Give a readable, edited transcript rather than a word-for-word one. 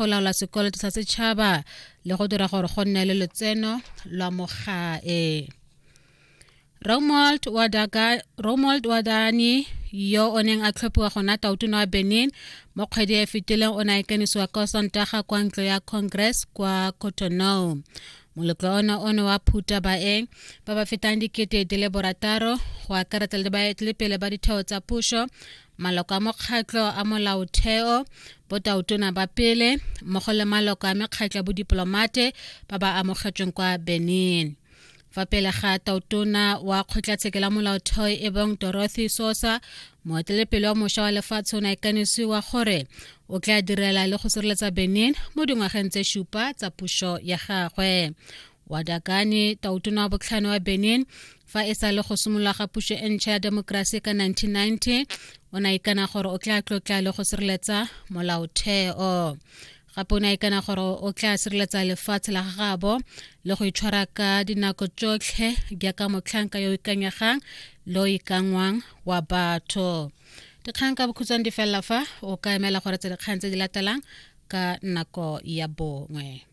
go laola sekoloto sa setšhaba le go dira gore go nne le lotseno lwa mo gae. Romuald Wadani yo o neng a tlhophiwa go nna tautona wa Benin mo kgwedi e fetileng o ne a ikanisiwa kwa Sontaga kwa ntlo ya Congress kwa Cotonou. Moletlo ono o ne wa phuta baeng ba ba fetang 6000 go akaretsa le baeteledipele ba ditheo tsa puso, maloko a mokgatlho a molaotheo, botautona ba pele mmogo le maloko a mekgatlho ya bodiplomate ba ba amogetsweng kwa Benin. Fa pele ga tautona wa kgotlatshekelo ya molaotheo e bong Dorothy Sosa, moeteledipele wa mošwa wa lefatshe o ne a ikanisiwa gore o tla direla le go sireletsa Benin mo dingwageng tse supa tsa puso ya gagwe. Wadagani, tautona wa botlhano wa Benin, fa e sa le go simolola ga puso e ntšha ya demokrasi ka 1990, o ne a ikana gore o tla tlotla le go sireletsa molaotheo. Gape o ne a ikana gore o tla sireletsa lefatshe la gagabo le go itshwara ka dinako tsotlhe jaaka motlhanka yo o ikanyegang le o ikangwang wa batho. Dikgang ka bokhutshwane di felela fa o ka emela gore tse dikgang tse di latelang ka nako ya bongwe.